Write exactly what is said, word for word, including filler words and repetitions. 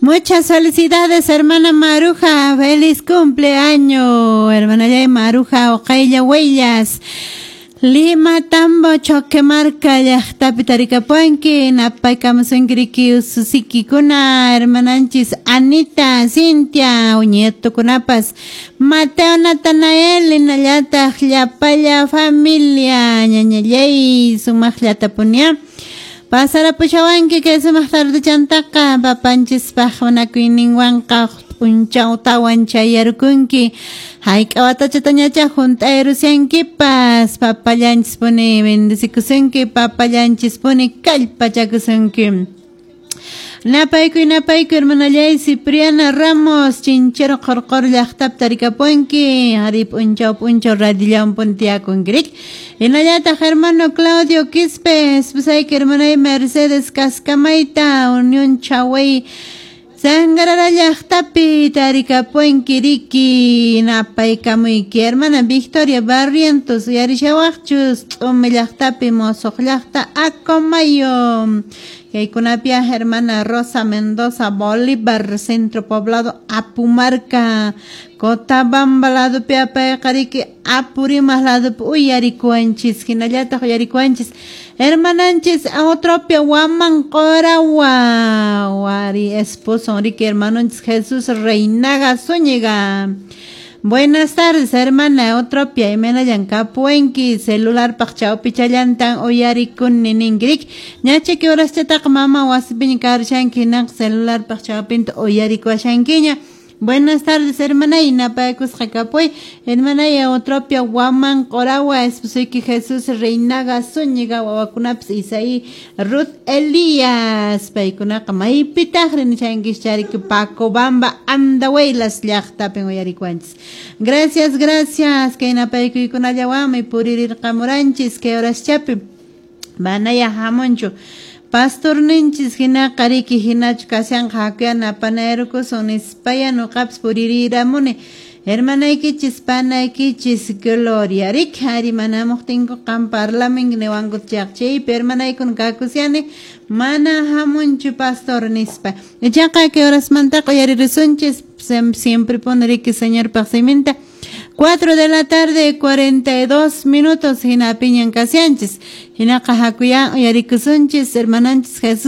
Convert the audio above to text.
Muchas felicidades, hermana Maruja. Feliz cumpleaños, hermana Yay Maruja Oqaylla Huellas. Lima Tambo Choquemarca llaqtapi tarikapuanki napaykamusunki ususikikuna hermananchis Anita, Cintia, uñietukunapas Mateo Natanael hinallataq llapalla familia ñañallay sumaqllatapunia pasarapushawanki kay sumaq tardechantaqa papanchispaq munakuyninwanqa p'unchawtawan chayarkunki hayk'a watachatañacha hunt'ayrusiankipas papallanchispuni bendecikusunki papallanchispuni kallpachakusunki. Napaykuy napaykuy hermanallay Cipriana Ramos Chinchero Qorqor llaqtapi tarikapunki ari p'unchaw p'unchaw radillawan puntiyakunki riki hinallataq hermano Claudio Quispe esposayki hermanay Mercedes Cascamayta Unión Chaway Sangarara llaqtapi tarikapunki riki napaykamuyki hermana Victoria Barrientos uyarishawaqchus T'umi llaqtapi Mosoq llaqta Acomayo kaykunapia hermana Rosa Mendoza Bolívar Centro Poblado Apumarca Cotabamba ladopi apayqa riki Apurímac ladopi uyarikuwanchis hinallataq uyarikuwanchis hermananchis Eutropia Waman Qorawa wari esposo riki hermanonchis Jesús Reinaga Zúñiga. Buenas tardes, hermana Eutropia, imaynallan kapuwanki celularpaq chawpichallantan uyarikuni ninki riki ñachiki horaschataqa mama wasipiña karushanki hinaqa celularpaq chawpinta uyarikuwashankiña. Buenas tardes, hermana, y napaykusqa kapuy hermana Eutropia Waman Qorawa esposuyki Jesús Reinaga Zúñiga wawakunapas Isaí Ruth Elías paykunaqa maypitaqri nishankichis chariki Pacobamba Andahuaylas llaqtapin uyarikuwanchis. Gracias, gracias kay napaykuykunallawanmi puririrqamuranchis kay horaschapi manaya hamunchu pastorninchis hinaqa riki hinachu kashanqa hakuya napanayrukusun nispaya nuqapas puririramuni hermanaykichis panaykichis Gloria riki ari manamuqtinku qam parlaminki niwanku chaypi hermanaykuna kakusiani mana hamunchu pastor nispa ichaqa kay horasmantaqa uyaririsunchis siempre pone riki Señorpaq siminta. Cuatro de la tarde, cuarenta y dos minutos, hinapiñan kasianchis. Hinaqa hakuya uyarikusunchis, hermananchis Jesús.